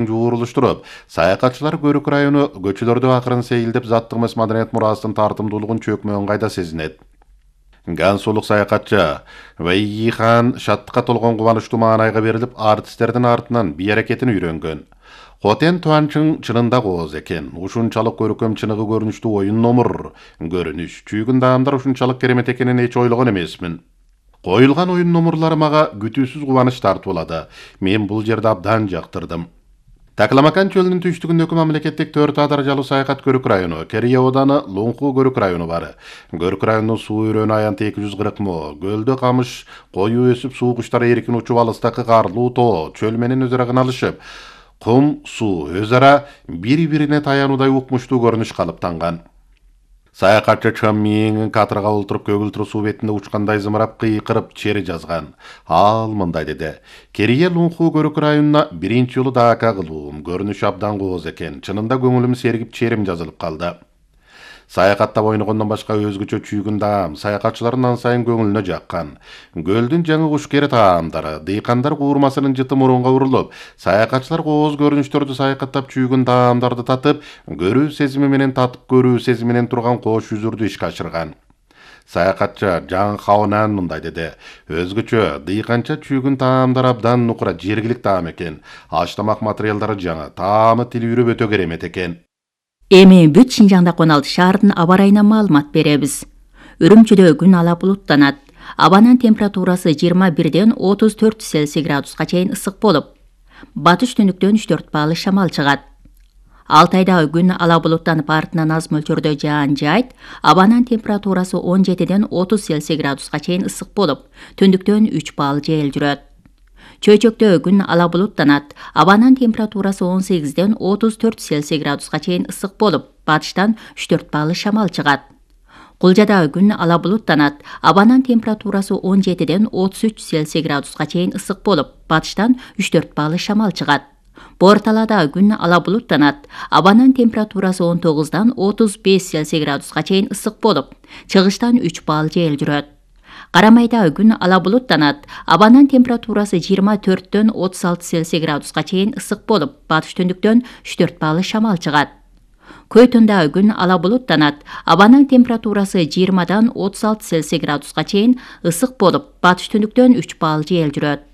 жуурулуштуруп, саякатчылар Көрүк району көчөлөрдө акырын сейилдеп заттык эмес маданият мурасынын тартымдуулугун чөкмөгөн кайда сезинет. Гансулук саякатчы Вайихан шаттыкка толгон кубанычтуу маанайга берилип, артисттердин артынан бий аракетин үйрөнгөн. Хотен Туанчың чынында кооз экен. Ушунчалык көркөм чыныгы көрүнүштүү оюн номур, көрүнүш, чүйгүн даамдар ушунчалык керемет экенин эч ойлогон эмесмин. Коюлган оюн номурлары мага күтүүсүз кубаныч тартуулады. Мен бул жерде абдан жактырдым. Такламакан чөлүнүн түштүгүндөгү мамлекеттик 4 даражалуу саякат Көрүк району, Керие ооданы Луңку Көрүк району бар. Көрүк районунун суу өрөөнү аянты 240 мо. Гөлдө камыш, кою өсүп, суу куштары эркин учуп, алыстакы карлуу тоо, чөл менен өз ара кыналышып, кум, суу өз ара бири-бирине таянуудай укмуштуу көрүнүш калыптанган. Саякатчы чаммиң катырга олтуруп көгүлтүр суу бетинде учкандай зымырап кыйкырып чери жазган. Ал мындай деди: Керие Луңку Көрүк районуна биринчи жолу дака кылуум, көрүнүш абдан кооз экен. Чынында көңүлүм сергип, черим жазылып калды. Саякаттап ойногондон башка өзгөчө чүйгүн даам саякатчылардын ан сайын көңүлүнө жаккан. Гөлдүн жаңы кушкери таамдары, дыйкандар куурмасынын жыты мурунга урулуп, саякатчылар кооз көрүнүштөрдү саякаттап чүйгүн даамдарды татып, көрүү сезими менен турган кош жүзүрдү ишке ашырган. Саякатчы Жан Хаонан мындай деди: өзгөчө дыйканча чүйгүн таамдар абдан нукура жергилик таам экен. Аш тамак материалдары жаңы, таамы тилүүрүп өтө керемет экен. Эми бүт Шинжаңда 16 шаардын аба ырайына маалымат беребиз. Үрүмчүдө күн ала булуттанат. Абанын температурасы 21ден 34 Цельсий градуска чейин ысык болуп, батыш түндүктөн 3-4 баалы шамал чыгат. Алтайда күн ала булуттанып, артынан аз мөлчөрдө жаан жайт. Абанын температурасы 17ден 30 Цельсий градуска чейин ысык болуп, түндүктөн 3 баал жел жүрөт. Чөйчөктө күн ала булуттанат. Абанын температурасы 18ден 34 Цельсий градуска чейин ысык болуп, батыштан 3-4 баалы шамал чыгат. Кулжада күн ала булуттанат. Абанын температурасы 17ден 33 Цельсий градуска чейин ысык болуп, батыштан 3-4 баалы шамал чыгат. Борталада күн ала булуттанат. Абанын температурасы 19дан 35 Цельсий градуска чейин ысык болуп, чыгыштан 3 баал жел жүрөт. Карамайда күн ала булуттанат. Абанын температурасы 24дөн 36 Цельсий градуска чейин ысык болуп, батыш түндүктөн 3-4 баалы шамал чыгат. Көйтүндө күн ала булуттанат. Абанын температурасы 20дан 36 Цельсий градуска чейин ысык болуп, батыш түндүктөн 3 баал жел жүрөт.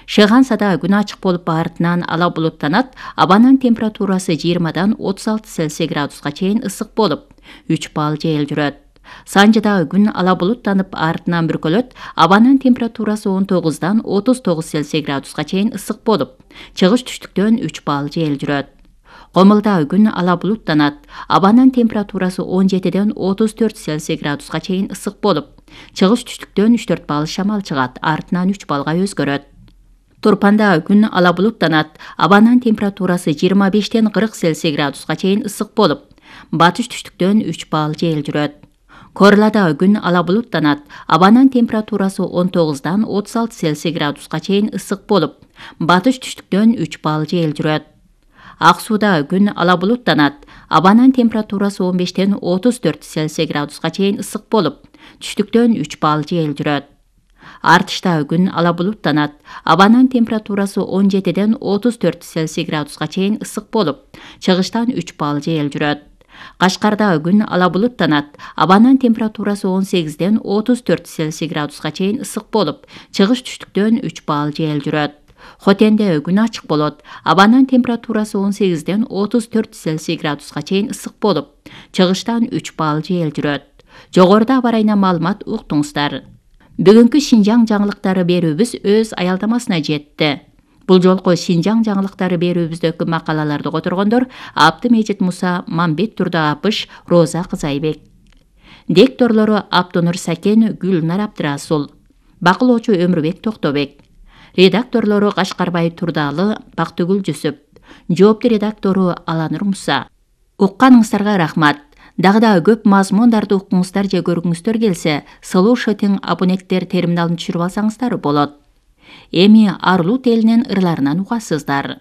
Шыгансада күн ачык болуп, артынан ала булуттанат. Абанын температурасы 20дан 36 Цельсий градуска чейин ысык болуп, 3 баал жел жүрөт. Санжыда күн ала булуттанып, артынан бүркөлөт. Абанын температурасы 19дан 39 Цельсий градуска чейин ысык болуп, чыгыш түштүктөн 3 баал жел жүрөт. Комулда күн ала булуттанат. Абанын температурасы 17ден 34 Цельсий градуска чейин ысык болуп, чыгыш түштүктөн 3-4 баал шамал чыгат, артынан 3 балга өзгөрөт. Турпанда күн ала булуттанат. Абанын температурасы 25ден 40 Цельсий градуска чейин ысык болуп, батыш түштүктөн 3 баал жел жүрөт. Корлада күн ала булуттанат. Абанын температурасы 19дан 36 Цельсий градуска чейин ысык болуп, батыш түштүктөн 3 баал жел жүрөт. Ак сууда күн ала булуттанат. Абанын температурасы 15ден 34 Цельсий градуска чейин ысык болуп, түштүктөн 3 баал жел жүрөт. Артышта күн ала булуттанат. Абанын температурасы 17ден 34 Цельсий градуска чейин ысык болуп, чыгыштан 3 баал жел жүрөт. Кашкарда күн ала булуттанат. Абанын температурасы 18ден 34 Цельсий градуска чейин ысык болуп, чыгыш түштүктөн 3 баал жел жүрөт. Хотенде күн ачык болот. Абанын температурасы 18ден 34 Цельсий градуска чейин ысык болуп, чыгыштан 3 баал жел жүрөт. Жогоруда аба ырайына маалымат уктуңуздар. Бүгүнкү Шинжаң жаңылыктары берүүбүз өз аялдамасына жетти. Бул жолку Шинжаң жаңылыктары берүүбүздөгү макалаларды которгондор Абдымежит Муса, Мамбет Турдаапыш, Роза Кызайбек. Дикторлору Абдунур Сакен, Гүлнар Абдырасул. Бакылоочу Өмүрбек Токтобек. Редакторлору Кашкарбай Турдалы, Бактыгүл Жүсүп. Жоопту редактору Аланур Муса. Укканыңыздарга рахмат. Дагы да көп мазмундарды уккуңуздар же көргүңүздөр келсе, Слушатың абоненттер терминалын түшүрүп алсаңыздар болот. Эми Арлут элинин ырларынан угасыздар.